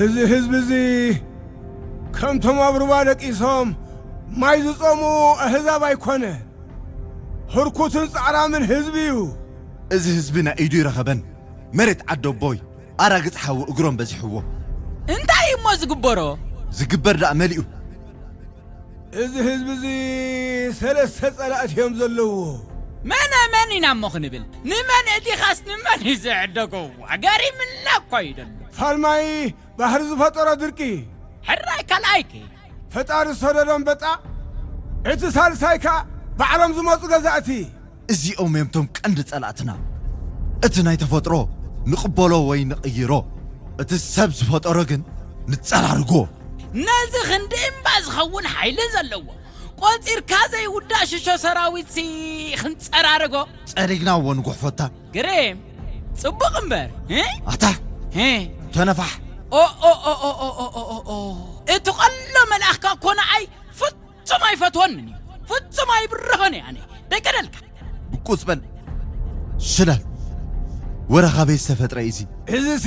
እዚ ህዝቢ እዚ ከምቶም ኣብ ሩባ ደቂሶም ማይ ዝጾሙ ኣህዛብ ኣይኮነ። ህርኩትን ጻዕራምን ህዝቢ እዩ። እዚ ህዝቢ ናይ ኢዱ ይረኸበን። መሬት ዓደቦይ ኣራግጽ ሓዊ እግሮም በዚሕዎ። እንታይ እሞ ዝግበሮ? ዝግበር ደኣ መሊኡ። እዚ ህዝቢ እዚ ሰለስተ ጸላእቲ እዮም ዘለዎ። መነ መን ኢና እሞ ክንብል? ንመን እቲኻስ ንመን እዩ ዝዕደጎ? ገሪምና እኮ እዩ ዘሎ። ፋልማይ ባሕሪ ዝፈጠሮ ድርቂ። ሕራይ ካልኣይኪ። ፈጣሪ ዝሰደዶ ኣንበጣ። እቲ ሳልሳይ ከኣ ባዕሎም ዝመጹ ገዛእቲ። እዚኦም እዮም እቶም ቀንዲ ጸላእትና። እቲ ናይ ተፈጥሮ ንቕበሎ ወይ ንቕይሮ፣ እቲ ሰብ ዝፈጠሮ ግን ንጸራርጎ። ነዚ ክንዲ እምባ ዝኸውን ሓይሊ ዘለዎ፣ ቆጺርካ ዘይውዳእ ሽሾ ሰራዊትሲ ክንጸራርጎ። ጸሪግና እዎ ንጉሕፈታ። ግርም፣ ጽቡቕ እምበር፣ እ? ኣታ፣ እ? ተነፋሕ። ኦ፣ ኦ፣ ኦ፣ ኦ፣ ኦ፣ ኦ፣ ኦ፣ ኦ። እቲ ቀሎ መልኣኽካ እኮ ንዓይ ፍጹም ኣይፈትወንን እዩ። ፍጹም ኣይብርሆን እየ ኣነ። ደይቀደልካ። ብቁጽ በል። ሽለል። ወረ ካበይ ዝተፈጥረ እዩ እዚ? እዚሲ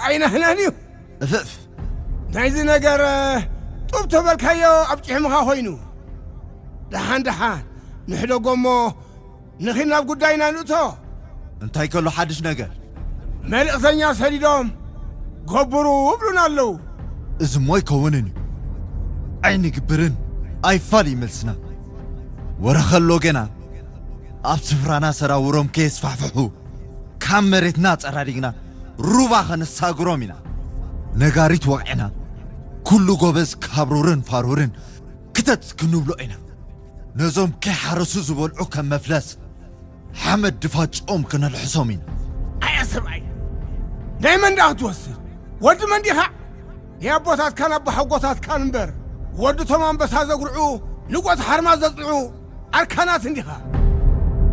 ኣይነህነን እዩ። እፍፍ። ናይዚ ነገር ጡብ ተበልካዮ ኣብ ጭሕምኻ ኮይኑ። ደሓን ደሓን ንሕደጎ እሞ ንኺድ ናብ ጉዳይና ንእቶ። እንታይ ከሎ ሓድሽ ነገር? መልእኽተኛ ሰዲዶም ገብሩ እብሉና ኣለዉ። እዚ እሞ ኣይከውንን እዩ። ኣይንግብርን ኣይፋል እዩ መልስና። ወረ ከሎ ገና ኣብ ስፍራና ሰራውሮም ከየስፋሕፍሑ ካብ መሬትና ጸራሪግና ሩባ ከነሳግሮም ኢና። ነጋሪት ወቕዕና ኩሉ ጎበዝ ካብ ሩርን ፋሩርን ክተት ክንብሎ ኢና። ነዞም ከይሓረሱ ዝበልዑ ከም መፍለስ ሓመድ ድፋጭኦም ክነልሕሶም ኢና። ኣያ ሰብኣይ፣ ናይ መን ደኣ ክትወስድ? ወዲ መን ዲኻ? ናይ ኣቦታትካን ኣቦሓጎታትካን እምበር፣ ወዲ ቶም ኣንበሳ ዘጉርዑ፣ ንጎት ሓርማዝ ዘጽንዑ ኣርካናት እንዲኻ።